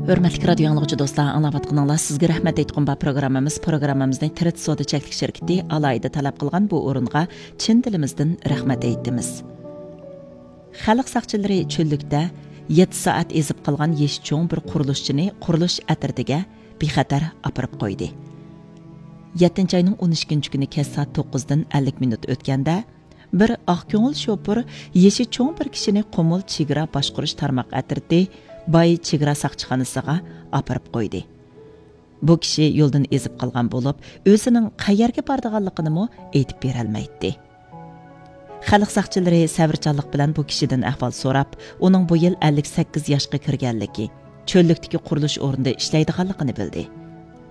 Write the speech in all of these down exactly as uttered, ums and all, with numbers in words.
ھۆرمەتلىك رادىيو ئاڭلىغۇچى دوستلار، ئاڭلاۋاتقىنىڭلار سىزگە رەھمەت ئېيتقۇم بار پروگراممىمىز. پروگراممىمىزنى تىرىت سودا چەكلىك شىركىتى ئالاھىدە تەلەپ قىلغان بۇ ئورۇنغا چىن دىلىمىزدىن رەھمەت ئېيتىمىز. خەلق ساقچىلىرى چۆللۈكتە يەتتە سائەت ئېزىپ قالغان يېشى چوڭ بىر قۇرۇلۇشچىنى قۇرۇلۇش ئەترىتىگە بىخەتەر ئاپىرىپ قويدى. يەتتىنچى ئاينىڭ ئون ئىككىنچى كۈنى كەچ سائەت توققۇزدىن ئەللىك مىنۇت ئۆتكەندە، بىر ئاق كۆڭۈل شوپۇر يېشى چوڭ بىر كىشىنى قۇمۇل چېگرا باشقۇرۇش تارماق ئەترىتى باي چېگرا ساقچىخانىسىغا ئاپىرىپ قويدى. بۇ كىشى يولدىن ئېزىپ قالغان بولۇپ، ئۆزىنىڭ قەيەرگە بارىدىغانلىقىنىمۇ ئېيتىپ بېرەلمەيتتى. خەلق ساقچىلىرى سەۋرچانلىق بىلەن بۇ كىشىدىن ئەھۋال سوراپ، ئۇنىڭ بۇ يىل ئەللىك سەككىز ياشقا كىرگەنلىكى، چۆللۈكتىكى قۇرۇلۇش ئورنىدا ئىشلەيدىغانلىقىنى بىلدى.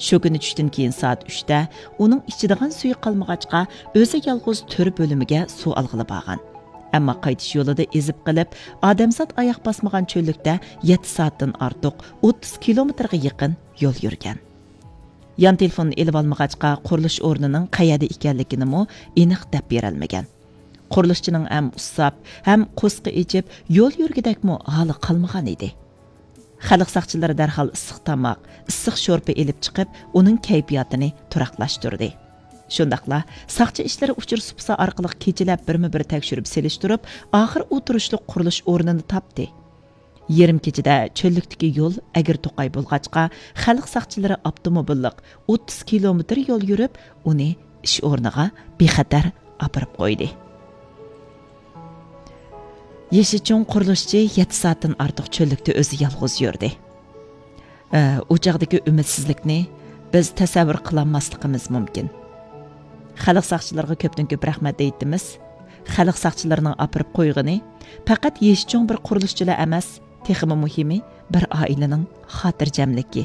شۇ كۈنى چۈشتىن كېيىن سائەت ئۈچتە ئۇنىڭ ئىچىدىغان سۈيى قالمىغاچقا، ئۆزى يالغۇز تۆر بۆلۈمىگە سۇ ئالغىلى بارغان. ئەمما قايتىش يولىدا ئېزىپ قېلىپ، ئادەمزات ئاياق باسمىغان چۆللۈكتە يەتتە سائەتتىن ئارتۇق، ئوتتۇز كىلومېتىرغا يېقىن يول يۈرگەن. يان تېلېفوننى ئېلىۋالمىغاچقا، قۇرۇلۇش ئورنىنىڭ قەيەردە ئىكەنلىكىنىمۇ ئېنىق دەپ بېرەلمىگەن. قۇرۇلۇشچىنىڭ ھەم ئۇسساپ، ھەم قورسىقى ئېچىپ، يول يۈرگۈدەكمۇ ھالى قالمىغان ئىدى. خەلق ساقچىلىرى دەرھال ئىسسىق تاماق، ئىسسىق شورپا ئېلىپ چىقىپ، ئۇنىڭ كەيپىياتىنى تۇراقلاشتۇردى. شۇنداقلا ساقچى ئىشلىرى ئۇچۇر سۇپىسى ئارقىلىق كېچىلەپ بىرمۇ بىر تەكشۈرۈپ سېلىشتۇرۇپ، ئاخىر ئۇ تۇرۇشلۇق قۇرۇلۇش ئورنىنى تاپتى. يېرىم كېچىدە چۆللۈكتىكى يول ئەگرى توقاي بولغاچقا، خەلق ساقچىلىرى ئاپتوموبىللىق ئوتتۇز كىلومېتىر يول يۈرۈپ، ئۇنى ئىش ئورنىغا بىخەتەر ئاپىرىپ قويدى. يېشى چوڭ قۇرۇلۇشچى يەتتە سائەتتىن ئارتۇق چۆللۈكتە ئۆزى يالغۇز يۈردى. ئە، ئۇ چاغدىكى ئۈمىدسىزلىكنى بىز تەسەۋۋۇر قىلالماسلىقىمىز مۇمكىن. خەلق ساقچىلىرىغا كۆپتىن كۆپ رەھمەت ئېيتىمىز. خەلق ساقچىلىرىنىڭ ئاپىرىپ قويغىنى پەقەت يېشى چوڭ بىر قۇرۇلۇشچىلا ئەمەس، تېخىمۇ مۇھىمى، بىر ئائىلىنىڭ خاتىرجەملىكى.